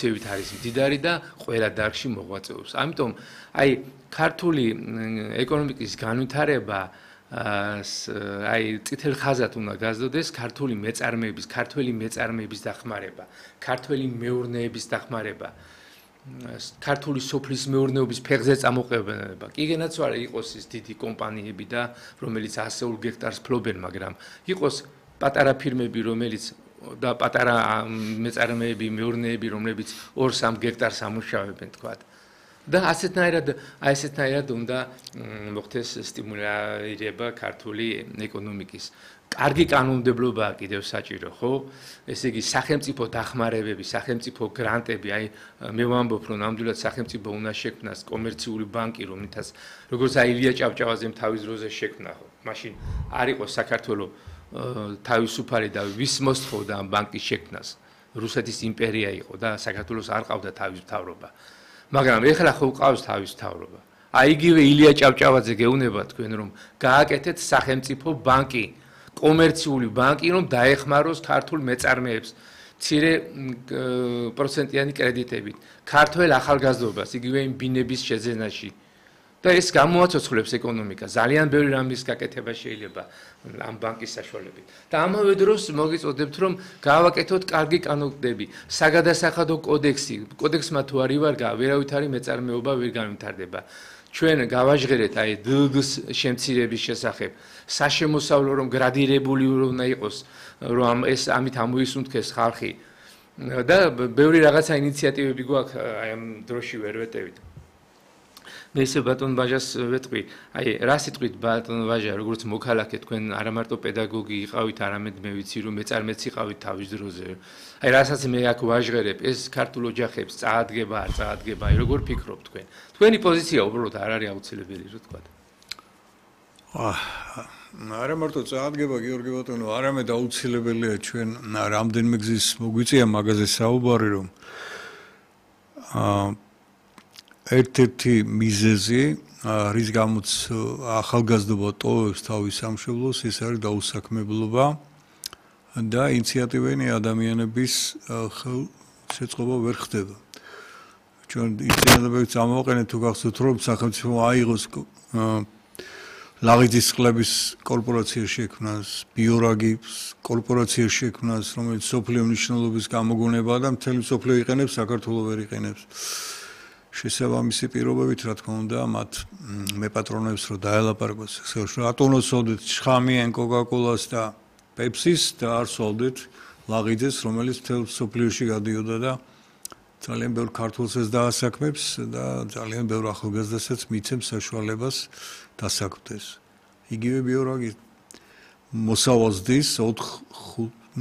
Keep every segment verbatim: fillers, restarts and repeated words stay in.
ცევით არის მდიდარი და ყველა დარგში მოღვაწეობს. ამიტომ აი ქართული ეკონომიკის განვითარება აი წითელ ხაზად უნდა გაზრდოდეს ქართული მეწარმეების, ქართველი მეწარმეების დახმარება, ქართველი მეურნეობის დახმარება, ქართული სოფლის მეურნეობის ფეხზე წამოყენება. კიდენაც არა იყოს ის დიდი კომპანიები და რომელიც ასეულ გექტარს ფლობენ, მაგრამ იყოს პატარა ფირმები, რომელიც და პატარა მეწარმეები, მეურნეები, რომლებიც ორ სამ გექტარს ამუშავებენ, თქვათ. და ასეთნაირად, აი ესეთნაირად უნდა მოხდეს სტიმულირება ქართული ეკონომიკის. კარგი კანონმდებლობაა კიდევ საჭირო, ხო? ესე იგი სახელმწიფო დახმარებები, სახელმწიფო გრანტები, აი მე ვამბობ, რომ ნამდვილად სახელმწიფო უნდა შექმნას კომერციული ბანკი, რომელთაც როგორც აი ილია ჭავჭავაძემ თავის დროზე შექმნა, ხო? მაშინ არ იყო საქართველოს თავისუფალი და ვის მოსთხოვდა ამ ბანკის შექმნას. რუსეთის იმპერია იყო და საქართველოს არ ყავდა თავის მთავრობა. მაგრამ ეხლა ხო ყავს თავის მთავრობა. აი იგივე ილია ჭავჭავაძე გეუბნება თქვენ რომ გააკეთეთ სახელმწიფო ბანკი, კომერციული ბანკი, რომ დაეხმაროს ქართულ მეწარმეებს მცირე პროცენტიანი კრედიტებით, ქართველ ახალგაზრდობას, იგივე იმ ბინების შეძენაში. და ეს გამოაცოცხლებს ეკონომიკას. ძალიან ბევრი რამის გაკეთება შეიძლება ამ ბანკის საშუალებით. და ამავე დროს მოგიწოდებთ, რომ გავაკეთოთ კარგი კანონმდებლები, საგადასახადო კოდექსი. კოდექსმა თუ არ ივარგა, ვერავითარი მეწარმეობა ვერ განვითარდება. ჩვენ გავაჟღერეთ აი დგ-ს შემცირების შესახებ, საშემოსავლო რომ გრადირებული უნდა იყოს, რომ ეს ამით ამოისუნთქეს ხალხი. და ბევრი რაღაცა ინიციატივები გვაქვს აი ამ დროში ვერ ვეტევით. მე ისე ბატონ ვაჟას ვეტყვი, აი რა სიტყვით ბატონ ვაჟა, როგორც მოქალაქე თქვენ არა მარტო პედაგოგი იყავით, არამედ მე ვიცი რომ მეწარმეც იყავით თავის დროზე. აი რასაც მე აქ ვაჟღერებ, ეს ქართულ ოჯახებს წაადგება, არ წაადგება, აი როგორ ფიქრობთ თქვენ? თქვენი პოზიცია უბრალოდ არ არის აუცილებელი, რო თქვა. არა მარტო წაადგება გიორგი ბატონო, არამედ აუცილებელია ჩვენ რამდენიმე გზის მოგვიწია მაგაზე საუბარი, რომ აა ერთ-ერთი მიზეზი, რის გამოც ახალგაზრდობა ტოვებს თავის სამშობლოს, ეს არის დაუსაქმებლობა და ინიციატივიანი ადამიანების ხელშეწყობა ვერ ხდება. ჩვენ ინიციატივებს ამოვაყენეთ თუ გახსოვთ, რომ სახელმწიფო აიღოს ლაღიძის წყლების კორპორაცია შექმნას, ბიორაგის კორპორაცია შექმნას, რომელიც სოფლიო მნიშვნელობის გამოგონებაა და მთელი სოფლიო იყენებს, საქართველოს ვერ იყენებს. შესაბამისი პირობებით, რა თქმა უნდა, მათ მეპატრონებს რო დაელაპარაკოს, რომ ატონოს სოლდეთ შხამიან კოკაკოლას და პეპსის და არ სოლდეთ ლაღიძეს, რომელიც მთელ სოფლიოში გადიოდა და ძალიან ბევრ ქართველსაც დაასაქმებს და ძალიან ბევრ ახალგაზრდასაც მიცემს საშუალებას დასაქმდეს. იგივე ბიორაგი მოსავალს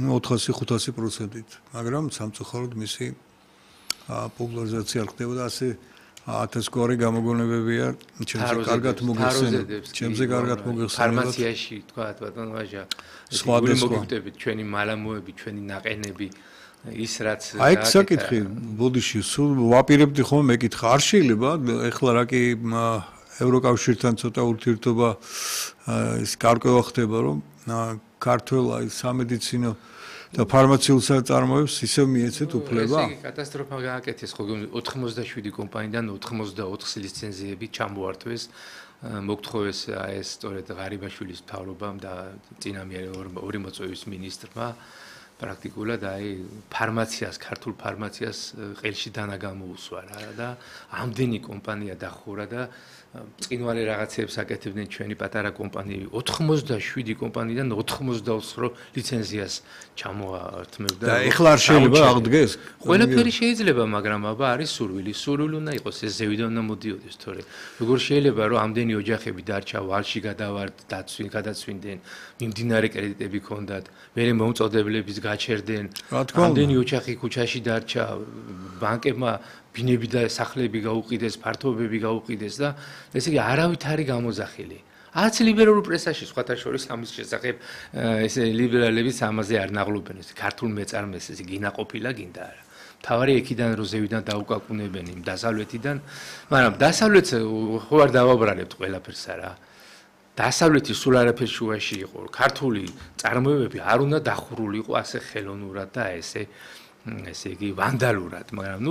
ოთხასი ხუთასი პროცენტით, მაგრამ სამწუხაროდ მისი პოპულარიზაცია არ ხდება და ასე ათას გვარი გამოგონებებია ჩემზე კარგად მოგეხსენებათ. ჩემზე კარგად მოგეხსენებათ. ფარმაციაში თქვა ბატონ ვაჟა, სხვადასხვა მოგივდებით ჩვენი მალამოები, ჩვენი ნაყენები, ის რაც აი ეს საკითხი, ბოდიში, სულ ვაპირებდი ხომ მეკითხა, არ შეიძლება ეხლა რა კი ევროკავშირთან ცოტა ურთიერთობა ის გარკვევა ხდება, რომ ქართულ აი სამედიცინო და ფარმაციულ საწარმოებს ისევ მიეცეთ უფლება? ესე იგი კატასტროფა გააკეთეს, ხო ოთხმოცდაშვიდი კომპანიიდან ოთხმოცდაოთხ ლიცენზიები ჩამოართვეს, მოგთხოვეს ეს სწორედ ღარიბაშვილის მთავრობამ და წინამე ორი მოწვევის მინისტრმა პრაქტიკულად აი ფარმაციას, ქართულ ფარმაციას ყელში დანა გამოუსვა რა და ამდენი კომპანია დახურა და წინვალე რაღაცებს აკეთებდნენ ჩვენი პატარა კომპანიები. ოთხმოცდაშვიდი კომპანიიდან ოთხმოცდაოთხ ლიცენზიას ჩამოართმევდა. და ეხლა არ შეიძლება აღდგეს? ყველაფერი შეიძლება, მაგრამ აბა არის სურვილი. სურვილი უნდა იყოს, ეს ზევიდან უნდა მოდიოდეს, თორე როგორ შეიძლება რომ ამდენი ოჯახები დარჩა ვალში გადავარდ, დაცვინ, გადაცვინდნენ, მიმდინარე კრედიტები ჰქონდათ, მერე მომწოდებლების გაჩერდნენ. ამდენი ოჯახი ქუჩაში დარჩა, ბანკებმა ბინები და სახლები გაუყიდეს, ფართობები გაუყიდეს და ესე იგი არავით არის გამოძახილი. არც ლიბერალურ პრესაში სხვათა შორის ამის შესახებ ესე ლიბერალებიც ამაზე არ ნაღლობენ, ეს ქართულ მეწარმეს ესე გინაყოფილა გინდა არა. თავარი ეკიდან რო ზევიდან დაუკაკუნებენ იმ დასავლეთიდან, მაგრამ დასავლეთს ხო არ დავაბრალებთ ყველაფერს არა. დასავლეთი სულ არაფერ შუაში იყო. ქართული წარმოებები არ უნდა დახურული იყო ასე ხელოვნურად და ესე ესე იგი ვანდალურად, მაგრამ ნუ